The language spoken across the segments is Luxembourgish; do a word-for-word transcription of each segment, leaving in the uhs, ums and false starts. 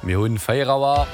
Mir hunn véier Auer.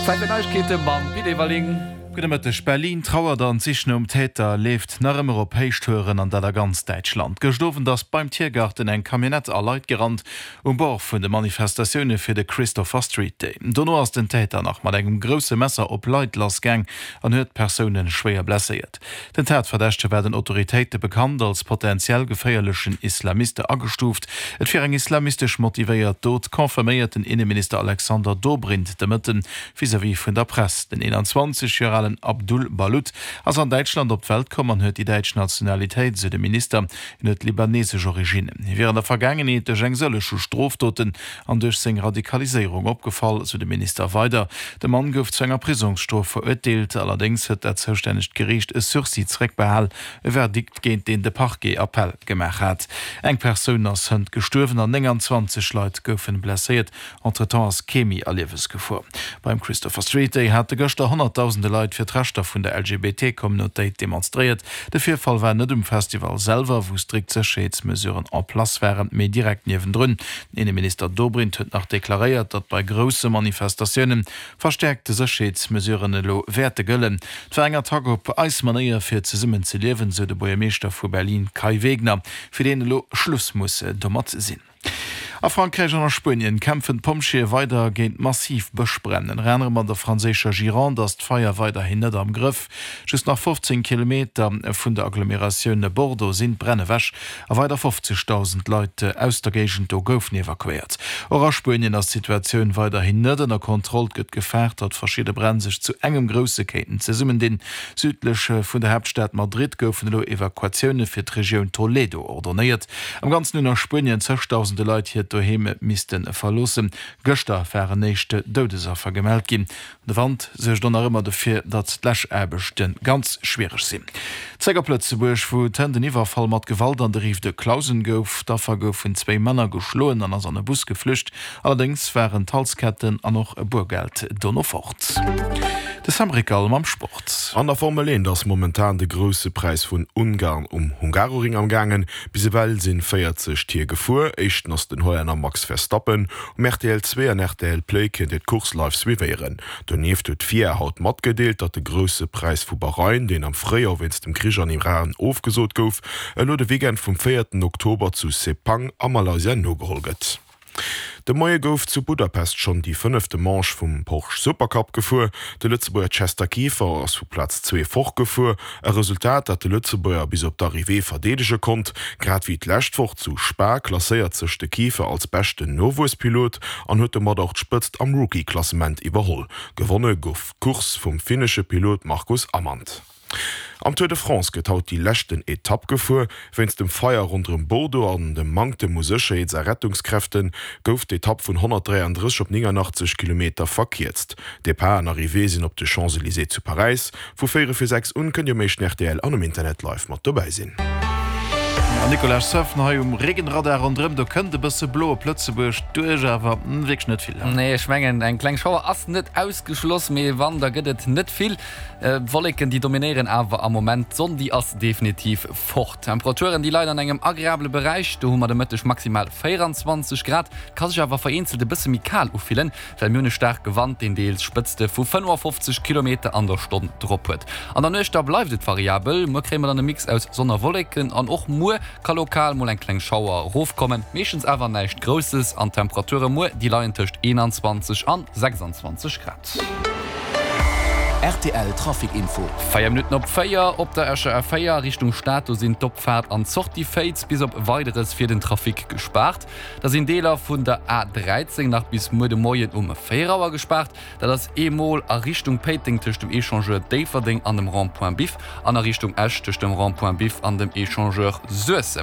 Zäit fir Neiegkeete mam Pit Everling. Gudde Mëtteg. Berlin trauert an d'Sich nom Täter leeft nach ëmmer op Héichtouren, an dat a ganz Däitschland. Gëscht Owend ass beim Tiergarten eng Camionnette a Leit gerannt, um Bord vun de Manifestatioune fir de Christopher Street Day. Dono ass den Täter nach mat engem grousse Messer op Leit lassgaang an huet Persoune schwéier blesséiert. Den Tatverdächtege war den Autoritéite bekannt, als potentiell geféierlechen Islamiste agestuuft. Et wier eng islamistesch motivéiert Dot, confirméiert den Inneminister Alexander Dobrindt de Mëtten vis-à-vis vun der Press. Den eenanzwanzeg Joer alen Abdul Balut ass an Däitschland op d'Welt komm an huet déi däitsch Nationalitéit, sou de Minister. Hien huet libanesesch Originnen. Hie wier an der Vergaangenheet duerch eng sëlleg u Strofdoten an duerch seng Radikaliséierung opgefall, sou de Minister weider. De Mann gouf zu enger Prisongsstrof verurteelt, allerdéngs huet dat zoustännegt Geriicht e Sursis zeréckbehal, e Verdikt géint deen de Parquet Appell gemaach hat. Eng Persoun ass hënt gestuerwen an nénganzwanzeg Leit goufen blesséiert. Entretemps ass kee méi a Liewesgefor. Beim Christopher Street Day hate gëschter honnertdausende Leit fir d'Rechter vun der L G B T-Communautéit demonstréiert. De Virfall war net um Festival selwer, wou strikt Sécherheetsmesuren en place waren, mee direkt niewendrun. Den Inneminister Dobrindt huet nach deklaréiert, datt bei grousse Manifestatioune verstäerkte Sécherheetsmesuren elo wäerte gëllen. Et war eng Attack op eis Manéier fir zesummen ze liewen, sou de Buergermeeschter vu Berlin Kai Wegner, fir deen elo Schluss muss domat sinn. A Frankräich an a Spuenien kämpfen d'Pompjeeë weider géint massiv Bëschbränn. Ënner anerem an der franséischer Gironde ass d'Feier weiderhin net am Grëff. Just nach fofzéng Kilometer vun der Agglomeratioun Bordeaux sinn d'Bränn ewech a weider fofzegdausend Leit aus der Géigend do goufen evakuéiert. Och a Spuenien ass d'Situatioun weiderhin net ënner Kontroll. Et gëtt gefaart, datt verschidde Bränn sech zu engem grousse kéinten zesummendinn. Südlech vun der Haaptstad Madrid goufen elo Evakuatioune fir d'Regioun Toledo ordonéiert. Am Ganzen hunn a Spuenien zëgdausende Leit hiert Doheem misste verloossen. Gëschter waren éischt Doudesaffer gemellt ginn. De Wand suergt och nach ëmmer dofir, datt d'Läschaarbechte ganz schwiereg sinn. Zréck op Lëtzebuerg, wou et hënt en Iwwerfall mat Gewalt an der Rive de Clausen gouf. D'Affer gouf vun zwéi Männer geschloen an ass an e Bus geflücht. Allerdéngs waren d'Halsketten an och e Boergeld dono fort. De Sam Rickal mam Sport. An der Formel eent ass momentan de Grousse Präis vun Ungarn um Hungaroring am gaangen. Bis ewell sinn véierzeg Tier gefuer. Éischten ass den Hollänner Max Verstappen. Um R T L zwee an R T L Play kënnt Dir d'Course live suivéieren. Donieft huet d'FIA haut matgedeelt, datt de Grousse Präis vu Bahrain, deen am Fréijoer wéinst dem Krich an Iran ofgesot gouf, elo de Weekend vum véierten Oktober zu Sepang a Malaysia nogeholl gëtt. De Moie gouf zu Budapest schonn déi fënnefte Manche vum Porsche Supercup gefuer. De Lëtzebuerger Chester Kieffer ass vu Plaz zwee fortgefuer, e Resultat, dat de Lëtzebuerger bis op d'Arrivée verdeedege konnt. Grad wéi d'lescht Woch zu Spa klasséiert sech de Kieffer als beschten Nowuesspilot an huet domat och d'Spëtzt am Rookie-Klassement iwwerholl. Gewonne gouf d'Course vum finnesche Pilot Marcus Amand. Am Tour de France gëtt haut déi leschten Etapp gefuer. Wéinst dem Feier ronderëm Bordeaux an dem Manktem u Sécherheets a Rettungskräfte gouf d'Etapp vun honnertdräiandrësseg op néngannachtzeg Kilometer verkierzt. Depart an Arrivée sinn op de Champs-Elysées zu Paräis. Vu véierel vir sechs un kënnt Dir um éischten R T L an um Internet live mat dobäi sinn. An Nicolas Surfen hei um Regenradar ronderëm, do kënnt e bësse blo op Lëtzebuerg duerch, awer wierklech net vill. Nee, ech mengen eng kleng Schauer ass net ausgeschloss, mee wann da gëtt et net vill. Wolleken déi dominéieren awer am Moment, d'Sonn déi ass definitiv fort. D'Temperaturen déi leien an engem agreabele Beräich, do hu mer de Mëtteg maximal véieranzwanzeg Grad, ka sech awer vereenzelt e bësse méi kal ufillen, well mir hunn e staarke Wand, deen deels Spëtzte vu fënnefafofzeg Kilometer an der Stonn drop huet. An der Nuecht da bleift et variabel, muer kréie mer dann e Mix aus Sonn a Wolleken an och muer ka lokal mol eng kleng Schauer erofkommen, meeschtens awer näischt Grousses an d'Temperature muer déi leien tëscht eenanzwanzeg an sechsanzwanzeg Grad. R T L Trafic Info. Véier Minutten op véier op der Escher A véier Richtung Stad, do sinn d'Opfaart an d'Sortie Féiz bis op Weideres fir den Trafic gespaart. Da sinn Deeler vun der A dräizéng nach bis muer de Moien um véier Auer gespaart. Dat ass eemol a Richtung Péiteng tëscht dem Echangeur Déifferdeng an dem Rond-point Biff an a Richtung Esch tëscht dem Rond-point Biff an dem Echangeur Suessem.